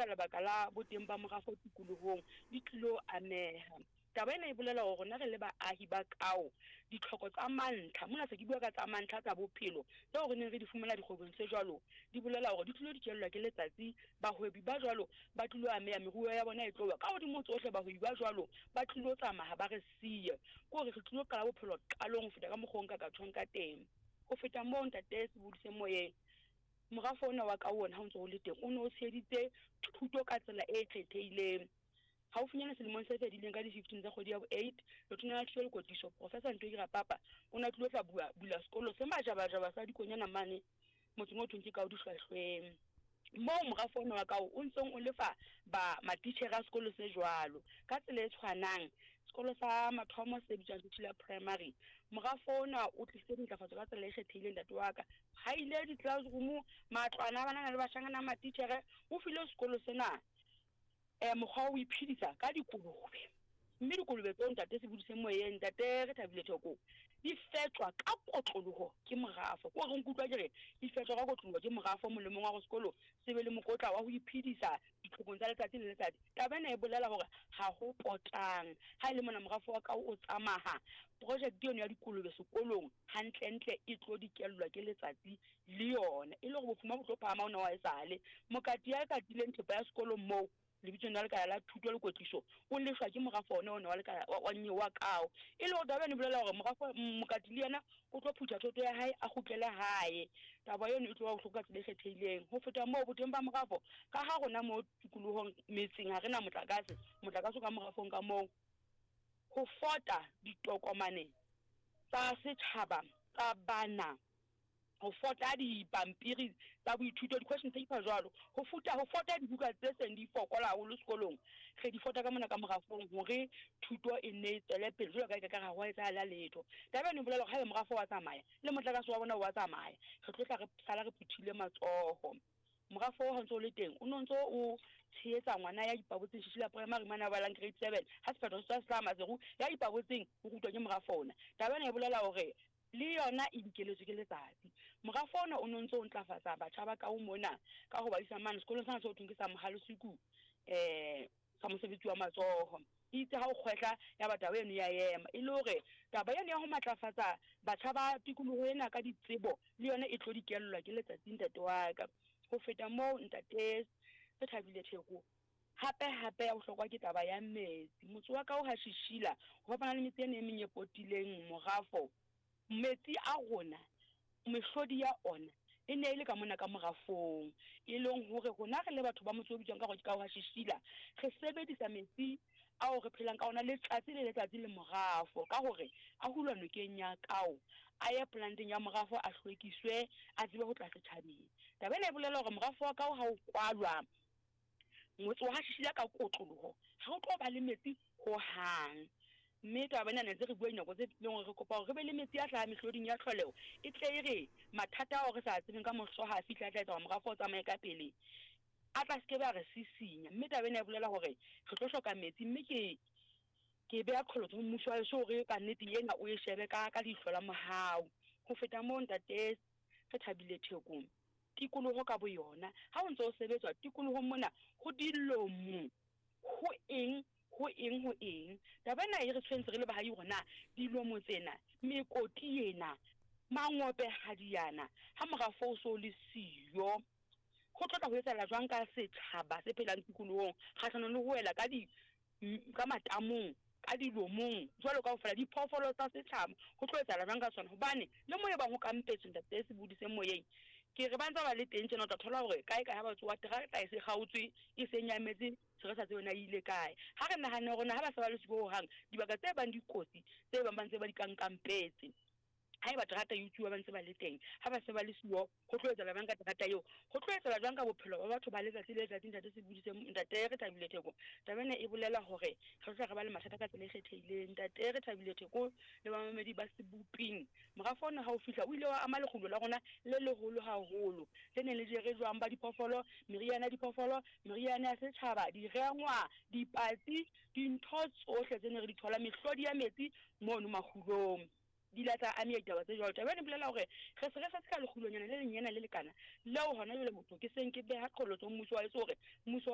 ka lebaka la boteng ba morafo tikolohong di tlilo ameha. Taba ena e bolela hore rona re le baahi ba Kao, ditlhoko tsa mantlha, mona se ke bua ka tsa mantlha tsa bophelo, tseo re neng re di fumana dikgwebong tse jwalo, di bolela hore di tlilo dikellwa ke letsatsi. Bahwebi ba jwalo ba tlilo ameha, meruo ya bona e tlo wa. Ka hodimo ho tsohle, bahwebi ba jwalo ba tlilo tsamaya ba re siye. Ke hore re tlilo qala bophelo qalong ho feta ka mokgwa o nka ka tjhong ka teng. Ho feta moo, Ntate Sebodi se moyeng, morafo ona wa Kao ona ha o ntso o le teng, o ne o tsheheditse thuto ka tsela e kgethehileng. Haufinyana selemong se fedileng ka di-15 tsa kgwedi ya bo-8, Letona la Thuto le Kwetliso, Professor Ntweki Rapapa, o ne a tlilo tla bua bula sekolo se majabajaba sa dikonyana mane motseng o thweng ke Kao Dihlwahlweng, moo morafo ona wa Kao o ntseng o lefa ba matitjhere a sekolo se jwalo. Ka tsela e tshwanang, sekolo sa mathomo se bitswang Sethula Primary, morafo ona o tlisitse dintlafatso ka tsela e kgethehileng ntate wa ka. Haile di-classroom, matlwana a banana le bashanyana a matitjhere, o file sekolo sena mokgwa wa ho iphedisa ka dikolobe. Mme dikolobe tseo, Ntate Sebudise Moyeng, Ntate Rethabile Thoko, di fetjwa ka kotloloho ke morafo. Ke hore nkutlwa ke re di fetjwa ka kotloloho ke morafo molemong wa hore sekolo se be le mokotla wa ho iphedisa ditlhokong tsa letsatsi le letsatsi. Taba ena e bolela hore ha ho potang ha e le mona morafo wa kao o tsamaha, projekte eno ya dikolobe sekolong hantlentle e tlo dikellwa ke letsatsi le yona, e le hore bofuma bo tlo phahama hona wa esale. Mokati ya katileng thepa ya sekolo moo lebitsong la lekala la thuto le kwetliso o lefshwa ke morafo ona ona wa lekala wa nyewe wa kao. E le hore taba eno e bolela hore morafo mokati le yena o tlo phutha thoto ya hae a kgutlele hae. Taba eno e tlo ba bohloko ka tsela e kgethehileng. Ho feta moo, boteng ba morafo, ka ha rona mo tikolohong metseng ha re na motlakase, motlakase o ka morafong ka moo, ho fota ditokomane tsa setjhaba tsa bana, ho fota dipampiri tsa boithuto, di-question paper jwalo, ho futa, ho fota dibuka tse seng di fokola haholo sekolong, re di fota ka mona ka morafong hore thuto e nne e tswele pele jwalo ka e ka ka ha ho etsahala letho. Taba eno e bolela hore haeba morafo wa tsamaya, le motlakase wa bona wa tsamaya, re tlo tla re sala re phuthile matsoho. Morafo oo ha o ntso o le teng, o ne o ntso o tshehetsa ngwana ya ipabotseng Shishila Primary mane a balang grade 7, ha sephetho se tswa se hlaha Maseru, ya ipabotseng o rutwa ke morafo ona. Taba ena e bolela hore le yona e dikeletswe ke letsatsi. Morafo ona o ne o ntse o ntlafatsa batjha ba kao mona ka ho ba isa mane sekolong sena se ho thweng ke sa Mohalesuku sa mosebetsi wa matsoho. Itse ha o kgwehla ya ba taba eno ya ema. E le hore taba eno ya ho matlafatsa batjha ba tikoloho ena ka ditsebo le yona e tlo dikellwa ke letsatsi ntate wa ka. Ho feta moo ntate Rethabile Theko, hape hape ya bohlokwa ke taba ya metsi. Motse wa ka o ha Shishila ho fapana le metse ena e meng e potileng morafo, metsi a rona, mehlodi ya ona e ne e le ka mona ka morafong. E leng hore rona re le batho ba motse o bitswang ka hore ke ka wa Shishila, re sebedisa metsi ao re phelang ka ona letsatsi le letsatsi le morafo ka hore a hulwa nokeng ya Kao, a ye planteng ya morafo a hlwekiswe, a tsebe ho tla setjhabeng. Taba ena e bolela hore morafo wa Kao ha o kwalwa, motse wa Shishila ka kotloloho ha o tlo ba le metsi hohang. Mme taba ena ne ntse re bua dinako tse fetileng hore re kopa hore re be le metsi a hlahang mehloding ya tlholeho, e tle e re mathata ao re sa a tsebeng ka moso ha a fihla a tla etsa hore morafo o tsamaye ka pele, a tla se ke be a re sisinya. Mme taba ena e bolela hore re tlo hloka metsi, mme ke ke beha qholotso ho mmuso wa heso hore ka nnete ena o e shebe ka ka leihlo la mohau. Ho feta moo, ntate Rethabile Thekong, tikoloho ka boyona, ha o ntse o sebetswa tikolohong mona ho dilomo, ho eng, ho eng, ho eng. Taba ena e re tshwentse re le bahahi hore na dilomo tsena, mekoti ena, mangopehadi ana, ha morafo o so le siyo, ho tlo tla ho etsahala jwang ka setjhaba se phelang tikolohong kgahlanong le ho wela ka di ka matamong, ka dilomong, jwalo kaofela, diphoofolo tsa setjhaba, ho tlo etsahala jwang ka tsona? Hobane le moo e bang ho kampetswe, ntate Sebodi se moyeng, ke re ba ntse ba le teng tjena, o tla thola hore kae kae ha ba tsoha terata e se kgaotswe, e se nyametse, se re sa tsebe na e ile kae. Ha re nahane hore na ha ba sa ba le siko hohang, dibaka tse bang dikotsi, tse bang ba ntse ba di kankampetse, haeba terata e utsuwa ba ntse ba le teng, ha ba se ba le siyo, ho tlo etsahala jwang ka terata eo? Ho tlo etsahala jwang ka bophelo ba batho ba letsatsi le letsatsi? Ntate Sebodi se, Ntate Rethabile Theko, taba ena e bolela hore re tlo tla re ba le mathata ka tsela e kgethehileng. Ntate Rethabile Theko le bamamedi ba Seboping, morafo ona ha o fihla o ile wa ama lekgulo la rona le leholo haholo, le neng le jere jwang ba diphoofolo, meriana ya diphoofolo, meriana ya setjhaba, direngwa, dipatsi, dintho tsohle tse ne re di thola, mehlodi ya metsi mono makgulong. Di ile tsa ameha ditaba tse jwalo. Taba ena e bolela hore re se re setse ka lekgulonyana le lenyenyane le lekana leo hona jwale motho ke seng ke beha qholotso ho mmuso wa heso hore mmuso wa.